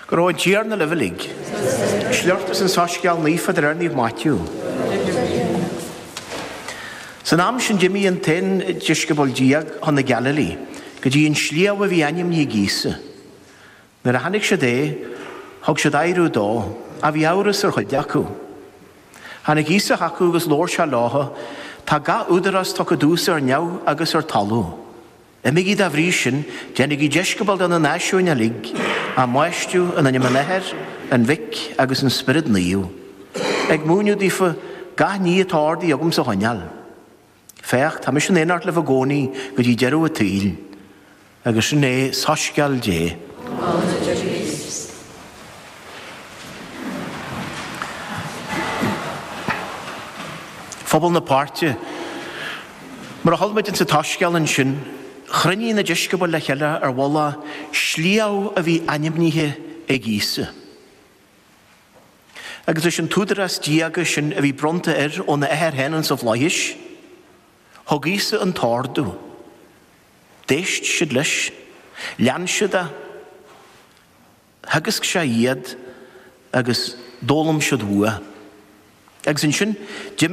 Go raibh an Tiarna libh uilig. Sliocht as an Soiscéal Naofa de réir Naomh Maitiú. San am sin d'imigh an t-aon deisceabal déag chun na Gaililí, go dtí an sliabh a bhí ainmnithe ag Íosa. Nuair a chonaic siad é, thug siad adhradh dó, ach bhí amhras ar chuid acu. Tháinig Íosa chucu agus labhair sé leo, Tá gach údarás tugtha domhsa ar neamh agus ar talamh. Imígí dá bhrí sin, déanaigí deisceabail de na náisiúin uilig, á mbaisteadh in ainm an Athar, an Mhic agus an Spioraid Naomh, ag múineadh daofa gach ní atá ordaithe agamsa a choinneáil. Féach, tá mise in éineacht libh i gcónaí go dtí deireadh an tsaoil. Agus sin é soiscéal Dé. Gloire duit a Chríost. Phobal na páirte. Mar a chuala muid insa tSoiscéal ansin, chruinnigh na deisceabail le chéile ar mhullach sliabh a bhí ainmnithe ag Íosa. Agus leis an t-údarás diaga sin a bhí bronnta air óna Athair féin insa bhflaithis, thug Íosa an t-ordú. D'éist siad leis. Lean siad é. Theagasc sé iad agus d'fhoghlaim siad uaidh. Agus ansin, d'imigh.